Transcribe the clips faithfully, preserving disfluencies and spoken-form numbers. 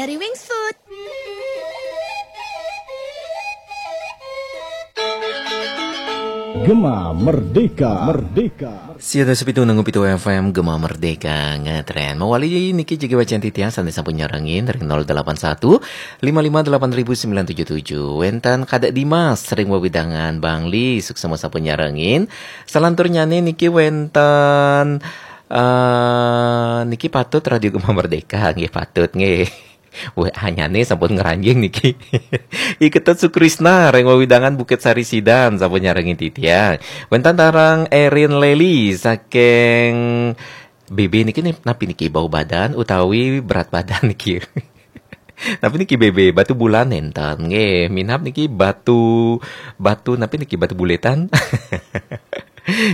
Dari Wings Food. Gema Merdeka, Merdeka. Sia dasa pitu nanggu pitu F M Gema Merdeka ngetren. Mawali niki jagi wacan titiang sané sampun nyarengin ring nol delapan satu lima lima delapan ribu sembilan tujuh tujuh. Wénten Kadek Dimas ring wewidangan Bangli, suksma sampun nyarengin. Salanturnyané niki wénten eh niki patut Radio Gema Merdeka nggih patut nggih. Wah, hanyane sampun ngranjing niki. Iketut Sukrisna ring wewidangan Bukit Sari Sidan sampun nyarengin titiang. Wénten taler Erin Leli saking B B niki nih, napi niki bau badan utawi berat badan niki. Napi niki B B, Batu Bulan nénten nggih, minab niki Batu Batu napi niki Batu Buletan.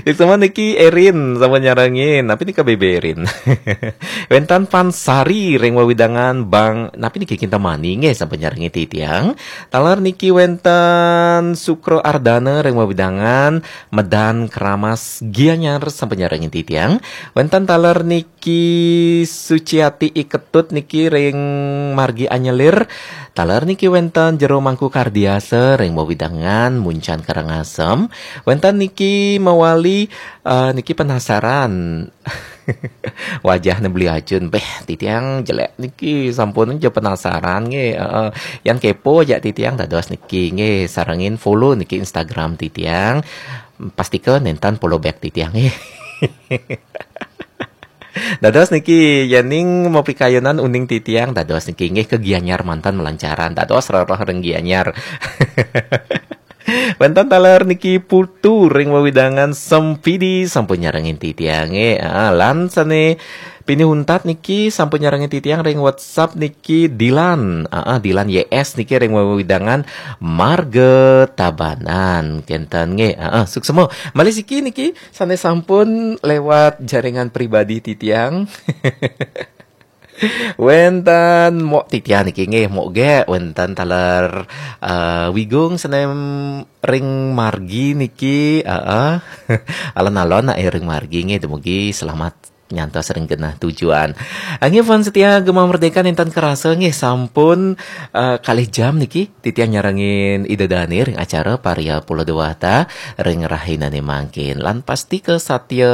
Suksma niki Erin sampun nyarengin. Napi nika B B Erin? Wénten Pansari ring wewidangan Bang napi niki Kintamani nggih sampun nyarengin titiang. Taler niki wénten Sukro Ardana ring wewidangan Medan Keramas Gianyar sampun nyarengin titiang. Wénten taler niki Suciati Iketut niki ring margi Anyelir. Taler niki wénten Jero Mangku Kardiasa ring wewidangan Muncan Karangasem. Wénten niki mawali eh, niki penasaran. Wajahnya beli acun, beh titiang jelek niki sampun aja penasaran nggih. Heeh. Yan kepo aja titiang dados niki nggih, sarengin follow niki Instagram titiang. Pastika nénten follow back titiang nggih. Dados niki yening mapikayunan uning titiang dados niki nggih ke Gianyar manten melancaran dados rereh ring Gianyar. Wénten taler niki Putu ring wewidangan Sempidi sampun nyarengin titiang nggih. Ah, lan sané pinih untat niki sampun nyarengin titiang ring WhatsApp niki Dilan. Ah, ah, Dilan Y S niki ring wewidangan Marga Tabanan. Kénten nggih. Ah, ah, suksma. Malih siki niki sané sampun lewat jaringan pribadi titiang. Wénten mok titiang niki nggih, mok gé wénten taler eh, Wigung sané ring margi niki, heeh. Alon-alon nak ring margi nggih, dumugi selamat nyantos ring genah tujuan. Nggih, fans setia Gema Merdeka nénten kerasa nggih sampun eh, kalih jam niki titiang nyarengin Ida Dané ring acara Parya Pulo Dewata ring rahinané mangkin. Lan pastika satia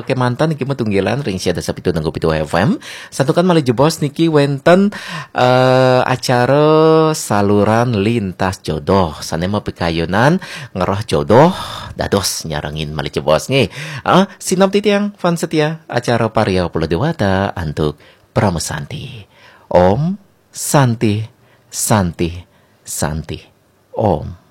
kemanten niki matunggilan ring sia dasa pitu nanggu pitu F M. Santukan malih jebos niki wénten eh, acara saluran lintas jodoh. Sané mapikayunan ngeroh jodoh dados nyarengin malih jebos nggih. Ah, sineb titiang fans setia acara Parya Pulo Dewata antuk Parama Santi. Om Santi Santi Santi Om.